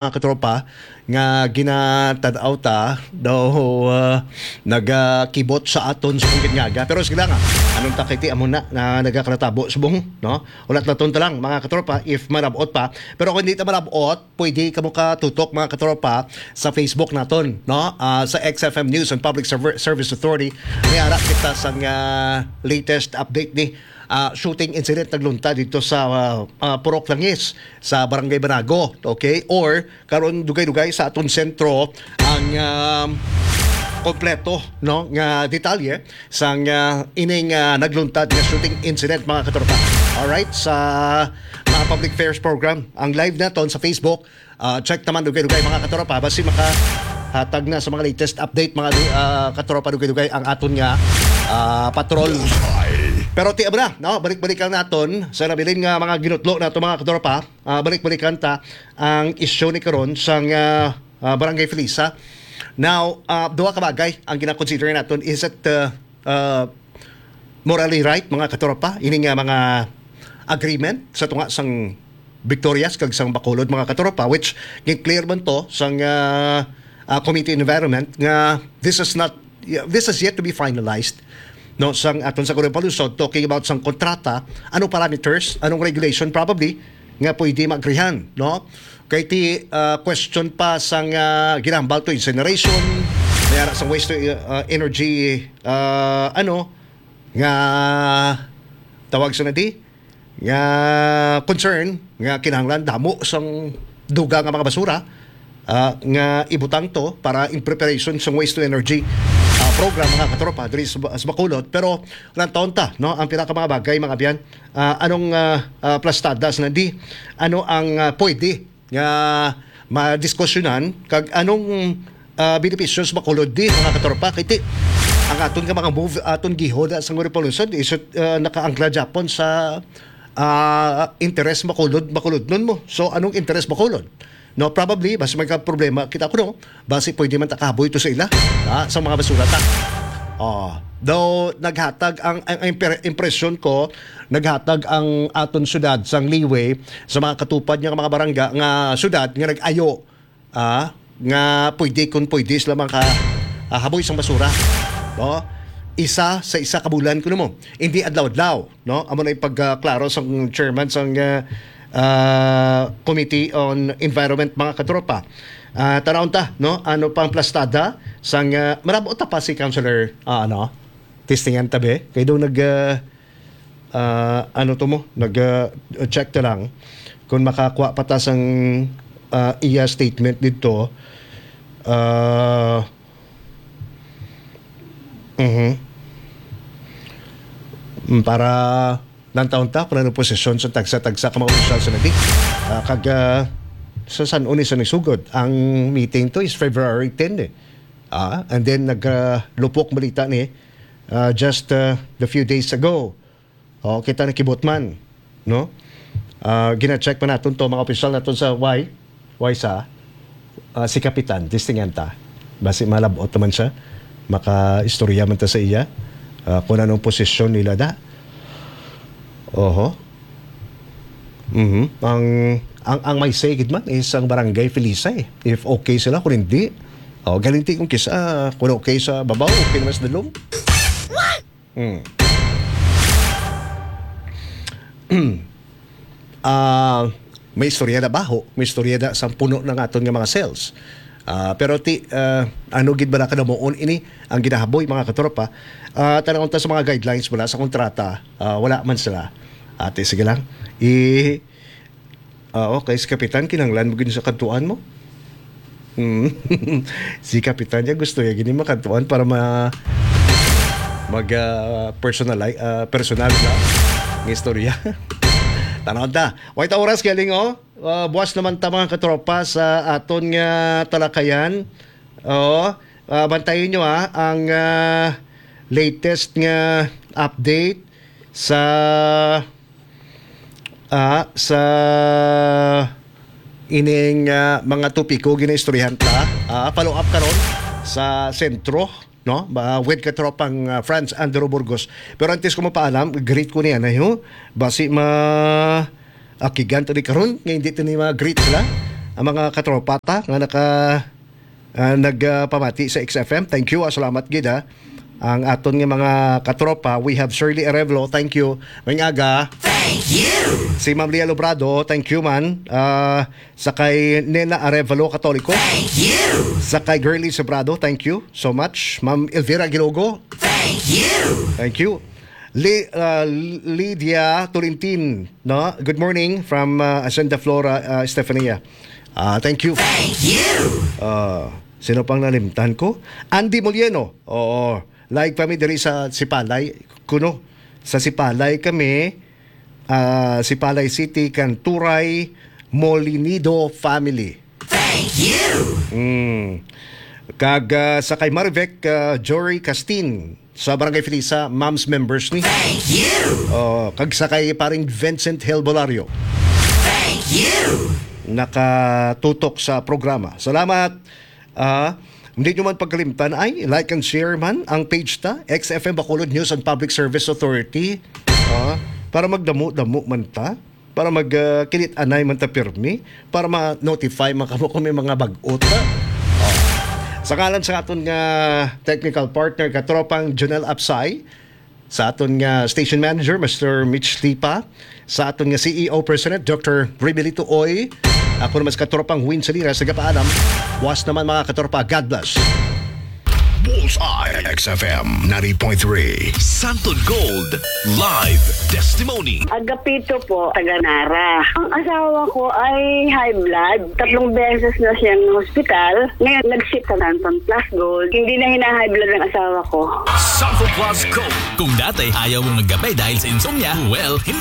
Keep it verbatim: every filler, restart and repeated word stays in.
mga katropa, nga ginatanaw ta daw, ah, nagakibot sa aton sa ginyaga. Pero sige lang, ah. Anong takiti amo na, na nagakaratabo subong, no? Ulat naton ta lang, mga katropa, if marabot pa. Pero kung hindi ta marabot, pwede kamo katutok, mga katropa, sa Facebook naton, no? Ah, sa X F M News and Public Server-, Service Authority. May ara kita sang, ah, latest update ni, ah, shooting incident nagluntad dito sa, ah, ah, Purok Langis, sa Barangay Banago, okay? Or karon dugay-dugay sa aton sentro ang, um, kompleto, no, nga detalye sang, ah, ining, ah, nagluntad nga shooting incident, mga katropa. Alright, sa mga public affairs program, ang live naton sa Facebook, ah, check naman dugay-dugay, mga katropa, basi makahatag na sa mga latest update, mga du-, ah, katropa, dugay-dugay ang aton nga, ah, patrol. Pero ti na, no, balik-balikan naton sa nabilin nga mga ginutlo nato, mga katropa. Ah, balik-balikan ta ang isyu ni karon sang, ah, ah, Barangay Felisa. Now, ah, duha ka bagay ang gina-consider naton. Is it, ah, ah, morally right, mga katropa, ini nga mga agreement sa tunga sang Victorias kag sang Bacolod, mga katropa, which gi-clear man to sang, ah, ah, Committee on Environment nga this is not, this is yet to be finalized, no, sang aton sa Corona Palusot, talking about sang kontrata, anong parameters, anong regulation probably nga pwede maagrihan, no? Kay ti, ah, question pa sang, ah, ginahambal to incineration, may ara sang waste to, ah, energy, ah, ano, nga tawag sa nadi, nga concern nga kinahanglan damo sang duga nga mga basura, ah, nga ibutang to para in preparation sang waste to energy, ah, program, mga katropa, diri sa, sa Bacolod. Pero lantawon ta, no, ang pila ka mga bagay, mga abyan, ah, anong, ah, ah, plastada sa nadi, ano ang, ah, pwede nga madiskusyonan, kag anong, ah, benepisyo sa Bacolod di, mga katropa? Kay ti, ang aton nga mga move, aton gihoda sa Nguri Paluson, is, ah, nakaangkla gyapon sa, ah, interes Bacolod, Bacolodnon mo. So, anong interes Bacolod? No, probably, basi may ka problema kita kuno, basi pwede man ta kahaboy to sa ila, ha, sa mga basura ta. Oh, though naghatag ang, ang impre-, impresyon ko, naghatag ang aton syudad sang liway sa mga katupad nga mga barangay nga syudad nga nag-ayo, ah, nga pwede, kung pwede sila maka, ah, haboy sang basura, no? Isa sa isa ka bulan kuno mo, hindi adlaw-adlaw, no? Amo na yung pagkaklaro sang chairman sang, ah, ah, Committee on Environment, mga katropa. Ah, tanawon ta, no? Ano pang plastada sang, ah, marabot ta pa si Councilor, ah, ano? Testingan ta, be. Kay daw nag, ah, ah, ano to mo? Nag, ah, check ta lang kung makakuha pa ta sang, ah, iya statement dito. Ah, mhm. Mm, para nantawon ta kung ano posisyon sa tagsa-tagsa ka mga opisyal sa nadi. Ah, kag, ah, sa San Unis sa nagsugod, ang meeting to is February ten eh. Ah, and then naglupok balita ni, ah, just, ah, the few days ago. Oh, kita na kibot man, no? Ah, gina-check pa naton to, mga opisyal naton sa Y, Y sa, ah, si Kapitan, testingan ta. Basi malabot naman siya, makaistorya man ta sa iya, ah, kung anong posisyon nila da. Oho. Mhm. Ang, ang, ang may say gid man is ang barangay Felisa eh. If okay sila, kung hindi, oh, galinti kung kisa, kung okay sa babaw, okay naman sa dalom. Mm. Ah, may istorya na baho, may istorya na sa puno ng aton nga mga cells. Ah, pero ti, ah, ano gid ba na kadamuon ini ang ginahaboy, mga katropa? Ah, tanawon ta sa mga guidelines mula sa kontrata, ah, wala man sila. Ate, sige lang. I, ah, okay, si Kapitan, kinahanglan mo gid sa kadtuan mo? Hmm. Si Kapitan niya gusto niya gini makadtuan para ma-, mag, ah, personali-, ah, personal na nga istorya. Tanawon ta. Wait, oras galing, oh. Ah, buwas naman ta, mga katropa, sa aton nga talakayan. Oo. Ah, bantayin nyo, ah, ang, ah, latest nga update sa, ah, sa ining, ah, mga topiko ginaistoryahan ta. Ah, follow up karon sa sentro, no? Ba, with katropang, ah, Franz Andrew Burgos. Pero antes ko mapaalam, greet ko niya na, ho? Basi ma-, akigan to ni karon, nga hindi to ni ma-greet sila. ang mga katropa ta nga naka, ah, nagpamati sa X F M. Thank you, ah, salamat gid, ah. Ang aton nga mga katropa, we have Shirley Arevalo, thank you. Maayong aga. Thank you. Si Ma'am Lia Lobrado, thank you man. Ah, sa kay Nena Arevalo, Katoliko. Thank you. Sa kay Girly Sobrado, thank you so much. Ma'am Elvira Gilogo. Thank you. Thank you. Li-, ah, Lydia Tulintin, no? Good morning from, ah, Hacienda Flora, ah, Estefania. Ah, thank you. Thank you. Ah, sino pang nalimtan ko? Andy Molieno. Oo. Live kami diri sa Sipalay. Kuno, sa Sipalay kami, ah, Sipalay City, kan Turay Molinido family. Thank you. Mm. Kag, ah, sa kay Marivec, ah, Jory Castin sa Barangay Felisa, Moms members ni. Thank you. Oh, kag sa kay paring Vincent Helbolario. Thank you. Nakatutok sa programa. Salamat. Ah, hindi nyo man pagkalimtan ay like and share man ang page ta, X F M Bacolod News and Public Service Authority. Ah, para magdamo-damo man ta, para mag, ah, kinit-anay man ta pirmi, para ma-notify man kamo kung may mga bag-o ta. Ah. Sa ngalan sa aton nga technical partner, katropang Jonel Apsay, sa aton nga station manager, Mister Mitch Lipa, sa aton nga C E O President, Doctor Rimelito Oy, ako naman sa katropang Win Salinas, nagapaalam. Was naman, mga katropa, God bless. Bullseye, X F M ninety point three. Santon Gold Live Testimony. Agapito po, taga Nara. Ang asawa ko ay high blood. Tatlong beses na siyang hospital. Ngayon, nag-ship sa Santon Plus Gold. Hindi na hina-high blood ang asawa ko. Santon Plus Gold. Kung dati ayaw mo magkape dahil sa insomnia, well, hindi